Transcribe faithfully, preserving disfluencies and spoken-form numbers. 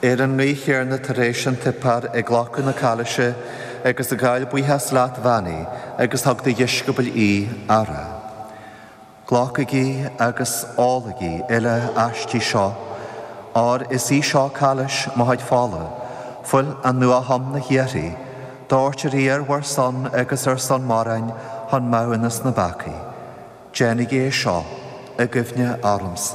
Ar an gcaoi chéanna tar éis an tsuipéir ag glacadh na cailise agus ag gabháil buíochas leat bheannaigh agus thug dá dheisceabail í á rá. Glacaigí agus ólaigí uile aisti seo, óir is í seo cailis mo chuid fola, fuil an nuathiomna shíoraí, Doirtear í ar bhur son agus ar son mórán chun maithiúnas na bpeacaí. Déanaigí é seo i gcuimhne ormsa.